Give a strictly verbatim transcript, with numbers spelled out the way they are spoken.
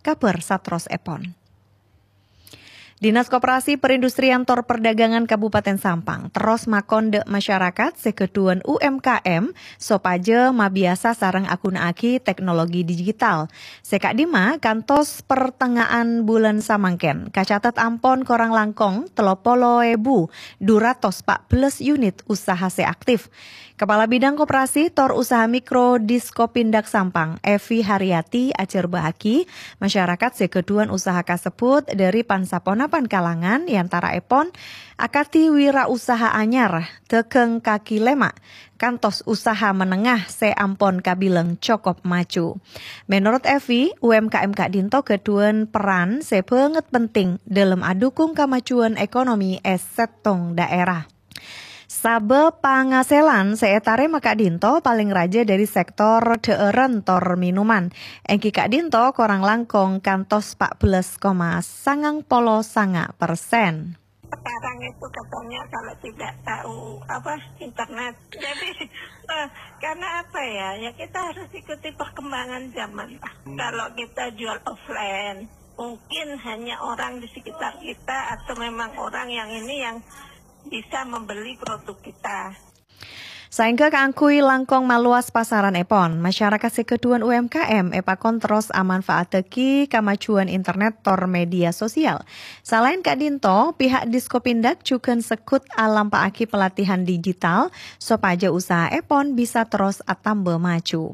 kabhâr saterrossèpon. Dinas Koperasi Perindustrian tor Perdagangan Kabupaten Sampang terros makon dâ' masyarakat sè ghâdhuwân U M K M sopajâ mabiyasa sareng aghuna'aghi teknologi digital. Sè ka'dimma kantos pertengahan bulân samangkèn, kacatet ampon korang langkong tello polo èbu du ratos pa' bellâs unit usaha sè aktif. Kepala Bidang Koperasi tor Usaha Mikro Diskopindag Sampang, Evi Haryati, ajhârbâ'âghi masyarakat sè ghâdhuwân usaha kasebbhut dâri pan-saponapan kalangan, è antara'èpon akadhi wirausaha anyar, dhâghâng kaki lèma', kantos usaha menengah sè ampon kabilang cokop maju. Menorot Evi, U M K M ka'dinto ghâdhuwân peran sè bângèt penting dâlem adhukung kamajuwân ekonomi è sèttong dhaèra. Sabâb pangasèlan sè ètarèma ka'dinto palèng rajâ dâri sèktor dhâ'ârân tor minuman, èngghi ka'dinto korang langkong kantos pa' bellâs koma sangang polo sanga' persen. Sekarang itu katanya kalau tidak tahu apa internet. Jadi eh, karena apa ya? Ya kita harus ikuti perkembangan zaman. Kalau kita jual offline, mungkin hanya orang di sekitar kita atau memang orang yang ini yang bisa membeli produk kita. Saèngghâ kaangghuy langkong malowas pasaranèpon, masyarakat sè ghâdhuwân U M K M èpakon terros amanfaataghi kamajuwân internet tor media sosial. Salaèn ka'dinto, pihak Diskopindag jhughân segghut alampa'aghi pelatihan digital sopajâ usahaèpon bisa terros atamba maju.